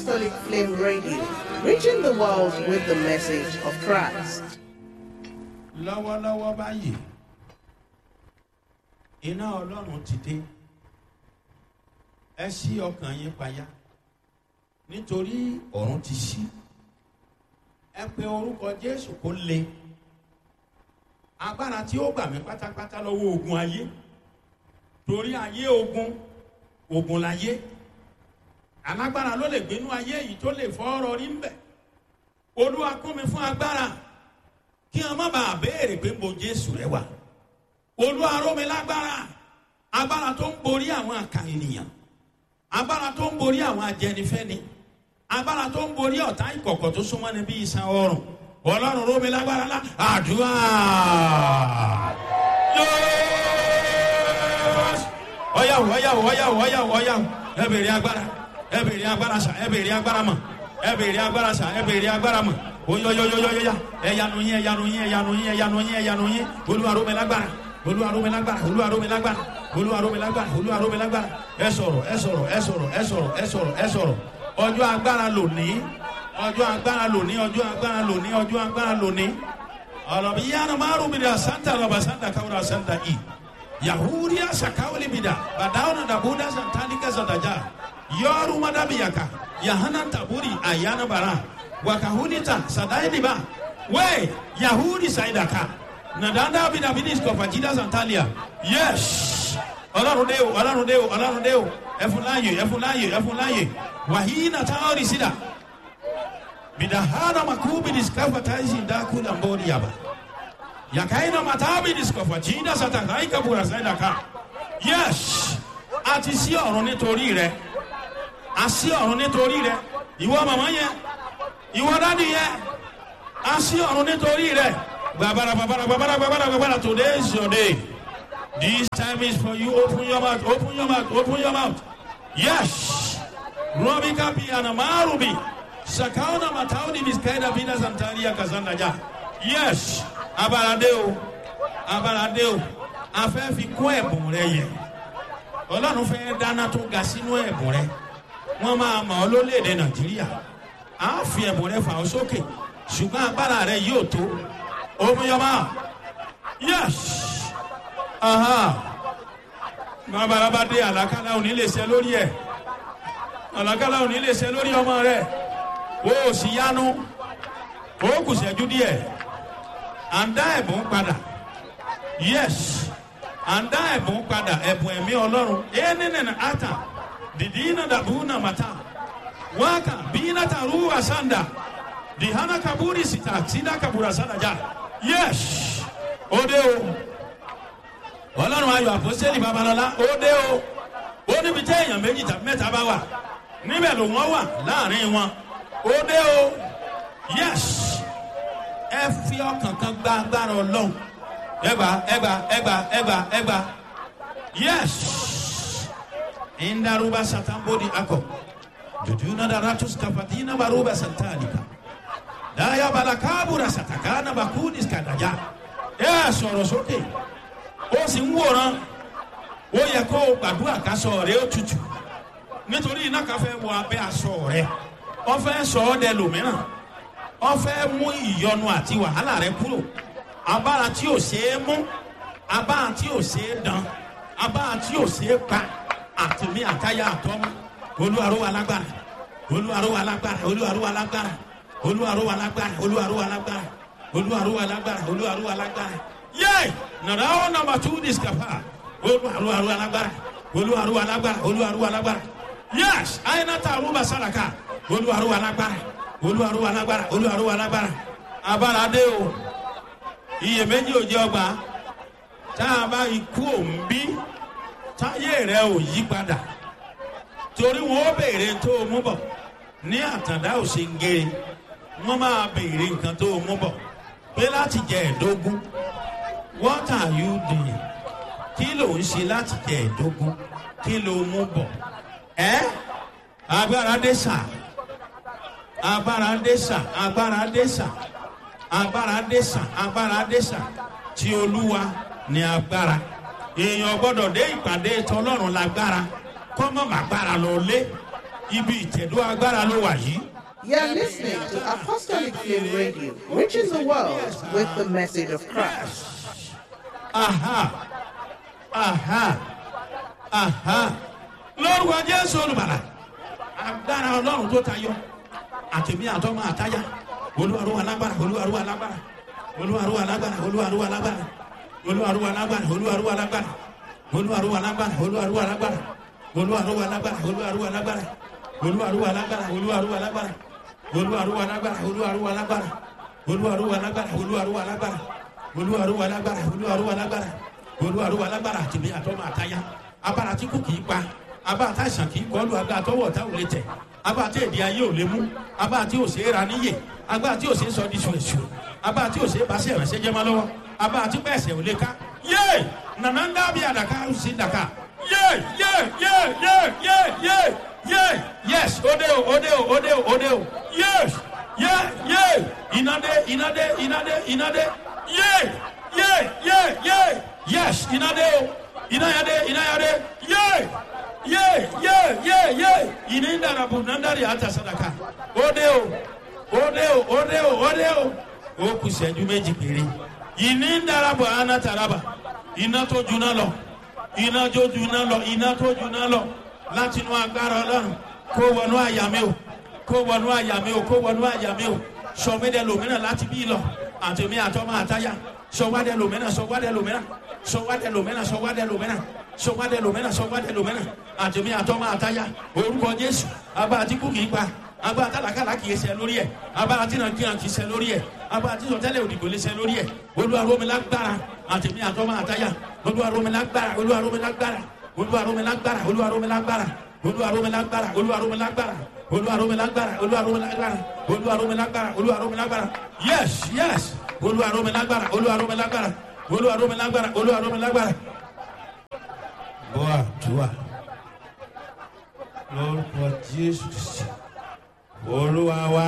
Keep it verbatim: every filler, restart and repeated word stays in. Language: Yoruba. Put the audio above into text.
Apostolic Flame Radio, reaching the world with the message of Christ. Lọ́wọ́lọ́wọ́ báyìí, iná Ọlọ́run ti dé. Ẹ ṣí ọkàn yín payá, nítorí ọ̀run ti ṣí. Ẹ pe orúkọ Jésù kó le. Agbára tí ó gbà mí pátápátá lọ́wọ́ ogun ayé, torí ayé ogun, ogun láyé. Alágbára ló lè gbénú ayé yìí tó lè fọ́ ọ̀rọ̀ rí ń bẹ̀. Olúwa, kún mi fún agbára, kí wọn má bàa béèrè pé mo Jésù rẹ wà. Olúwa, ró mi lágbára, agbára tó ń borí àwọn àkà ènìyàn, agbára tó ń borí àwọn ajẹnifẹ́ni, agbára tó ń borí ọ̀tá ìkọ̀kọ̀ tó súnmọ́ ni bí iṣan ọrùn. Ọlọ́run, ró mi lágbára lá. Àdúrà. Ọ̀yàwó, ọ̀yàwó, ọ̀yàwó, ọ̀yàwó, ọ̀yàwó. Ẹ bèrè agbára, ẹ bèrè agbára sà, ẹ bèrè agbára mọ̀, ẹ bèrè agbára sà, ẹ bèrè agbára mọ̀. Oyoyoyoyoya, ẹyanu yín, ẹyanu yín, ẹyanu yín, ẹyanu yín, ẹyanu yín. Olúwa ró mi lágbára, Olúwa ró mi lágbára, Olúwa ró mi lágbára, Olúwa ró mi lágbára, Olúwa ró mi lágbára. Ẹ sọ̀rọ̀, ẹ sọ̀rọ̀, ẹ sọ̀rọ̀, ẹ sọ̀rọ̀, ẹ sọ̀rọ̀, ẹ sọ̀rọ̀. Ọjọ́ agbára lónìí, ọjọ́ agbára lónìí, ọjọ́ agbára lónìí, ọjọ́ agbára lónìí. Ọlọ́bi yára márùn mi dà santa lọ́ba santa káwúrà santa i yahudiya sakawuli mi dà bàdáwọn dàbúdà santanika santaja yọrù madabiyaka yahana taburi ayana bara wakahunita sadainiba we yahudi saidaka nadanda bidabinisko fajida santalia. Yes, Ọlọ́run dé o, Ọlọ́run dé o, Ọlọ́run dé o. Ẹfun láàyè, ẹfun láàyè, ẹfun láàyè. Wàhíínà táwọn ìsìdá bidahana makubi diskafa taisi ndakula mbori yaba yakaina matabi diskafa jinda satakaika bura saidaka. Yes, àti sí ọ̀run nítorí rẹ, àsí ọ̀run nítorí rẹ. Ìwọ màmá yẹn, ìwọ dádì yẹn, a sí ọ̀run nítorí rẹ. Gbàbàrà, gbàbàrà, gbàbàrà, gbàbàrà, gbàbàrà. Today is your day. This time is for you. Open your mouth, open your mouth, open your mouth. Yes, robika bi anamarubi sakauna matauni biskaida bina santaria kazanda ja. Yes, abalade o, abalade o. A fẹ́ fi kún ẹ̀bùn rẹ yẹ. Ọlọ́run fẹ́ dáná tó ga sínú ẹ̀bùn rẹ. Wọ́n máa mọ̀ ọ́ lólèdè Nàìjíríà. A fi ẹ̀bùn rẹ fà ọ́ sókè, ṣùgbọ́n agbára rẹ yóò tó omiyọba. Yes, bàbá dé. Àlàkálà òní lè ṣe lórí ẹ, àlàkálà òní lè ṣe lórí ọmọ rẹ. O ò sì yanu, o kù ṣẹ́jú díẹ̀. À ń dá ẹ̀bùn padà. Yes, à ń dá ẹ̀bùn padà, ẹ̀bùn ẹ̀mí Ọlọ́run. Ẹ̀ nínú ata dìdí iná dàbú nàmàtà waka bina taruwa sanda dihana kaburi sita sida kabura sanda ja. Yes, òde o. Ọlọ́run Ayọ̀ Àpọ́sítélì Babalọ́lá, òde o. Ó níbi tí èèyàn méjì tàbí mẹ́ta bá wà, níbẹ̀ ló wọ́n wà láàrin wọn. Òde o. Yes, ẹ fi ọkàn kan gba agbára Ọlọ́run. Ẹgbà, ẹgbà, ẹgbà, ẹgbà, ẹgbà. Yes, indaruba satambodi akọ jujuna daratus kafatina baruba santalika daya balakabura satakana bakudis kadaja. Ẹ sọ̀rọ̀ sókè, ó sì ń wòran. Ó yẹ kó o gbàdúrà kásọ rẹ ó tutù, nítorí iná kan fẹ́ wọ abẹ́ aṣọ rẹ. Wọ́n fẹ́ sọ ọ́ dẹ lòmíràn, wọ́n fẹ́ mú ìyọnu àti wàhálà rẹ kúrò. Abára tí ò ṣeé mú, abára tí ò ṣeé dán, abára tí ò ṣeé pa, àtìmí àtayá àtọ́mú. Olúwaró wa lágbára, Olúwaró wa lágbára, Olúwaró wa lágbára, Olúwaró wa lágbára, Olúwaró wa lágbára, Olúwaró wa lágbára, Olúwaró wa lágbára. Yé, nàrà ó nàmbà tú discapa. Olúwaró wa lágbára, Olúwaró wa lágbára, Olúwaró wa lágbára. Yés, àyìnàtà àrùbà sàràkà. Olúwaró wa lágbára, Olúwaró wa lágbára, Olúwaró wa lágbára. Abára dé o, iyèméjì ò jẹ ọgbà. Tá a bá ikú òǹbí, táyé rẹ ò yí padà, torí wọn ó béèrè tó o mú bọ ní àtàndá òsèǹgèrè. Wọn máa béèrè nǹkan tó o mú bọ pé láti jẹ ẹ̀dógún. What are you doing? Kí ló ń ṣe láti jẹ ẹ̀dógún? Kí ló mú bọ? Ẹ agbára dé sà, agbára dé sà, agbára dé sà, agbára dé sà, agbára dé sà. Tí Olúwa ní agbára. Èèyàn gbọ́dọ̀ dé ìpàdé tọlọ́run lágbára kọ́mọ́ màgbára lọ lé. Ibi ìtẹ̀dó agbára ló wà yìí. You're listening to Apostolic Flame Radio, reaching the world with the message of Christ. Aha, aha, aha. Lórúkọ Jésù Olùbàlà, agbára Ọlọ́run tó tayọ, àtẹ̀mí àtọ́mọ àtáyà, olúwarúwa lágbára, olúwarúwa lágbára, olúwarúwa lágbára, olúwarúwa lágbára, olúwarúwa lágbára, olúwarúwa lágbára, olúwarúwa lágbára, olúwarúwa lágbára, olúwarúwa lágbára, olúwarúwa lágbára, olúwarúwa lágbára, olúwarúwa lágbára, olúwarúwa lágbára, olúwarúwa lágbára, olúwarúwa lágbára, olúwarúwa lágbára, olúwarúwa lágbára, olúwarúwa lágbára, olúwarúwa lágbára. Àtìmí àtọ́mọ àtáyà, abára tí kò kì í pa, abá àtàìsàn kì í kọlu, agbá àtọwọ́ ọ̀tá ò lè tẹ̀, abá àti èdè ayé ò lè mú, abá àti òsè ra níyè, agbá àti òsè sọ di ṣùṣù, abá àti òsè basẹ̀ rẹ̀ ṣẹ́jẹ́ mọ́ lọ́wọ́, abá àti pẹ̀sẹ̀ ò lè ká. Yé! Nànà ń dábìí àdàkà ó sì dàkà. Yé! Yé! Yé! Yé! Yé! Yé! Yé! Yes, òde o, òde o, òde o, òde o. Yes! Yé! Yé! Ìnádé, ìnádé, ìnádé, ìnádé. Yé! Yé! Yé! Yé! Yes, ìnádé o. Ìnáyàdé, ìnáyàdé. Yé! Yé! Yé! Yé! Yé! Ìní ń dàrà bù nàndàrí àtà sàdàkà. Òde o, òde o, òde o, òde o. Ó kù sẹ́jú méjì péré. Ìní ń dàrà bù àná tàràbà. Iná tó juná lọ, iná tó juná lọ, iná tó juná lọ láti inú agbára Ọlọ́run kó wọnú àyà mi o, kó wọnú àyà mi o, kó wọnú àyà mi o. Sọmídẹ lòmíràn láti bí lọ, àtẹmí àtọmọ àtayà. Sọwádẹ lòmíràn, sọwádẹ lòmíràn, sọwádẹ lòmíràn, sọwádẹ lòmíràn, sọwádẹ lòmíràn, sọwádẹ lòmíràn, àtẹmí àtọmọ àtayà. Orúkọ Jésù, abá àti kú kì í pa, abá àtàlàkàlà kì í ṣe lórí ẹ, abá àti nàkìrà kì í ṣe lórí ẹ, abá àti sọtẹ́lẹ̀ òdìgbò lè ṣe lórí ẹ. Olúwa rọ̀ mí lágbára, àtẹmí àtọmọ àtayà. Olúwa rọ̀ mí lágbára, Olúwa rọ̀ mí lágbára, Olúwa rọ̀ mí lágbára, Olúwa rọ̀ mí lágbára, Olúwa rọ̀ mí lágbára, Olúwa rọ̀ mí lágbára, Olúwa rọ̀ mí lágbára, Olúwa rọ̀ mí lágbára, Olúwa rọ̀ mí lágbára, Olúwa rọ̀ mí lágbára. Yes, yes, Olúwa rọ̀ mí lágbára, Olúwa rọ̀ mí lágbára, Olúwa rọ̀ mí lágbára, Olúwa rọ̀ mí lágbára. Bọ́ àdúrà lórúkọ Jésù, Olúwa wá.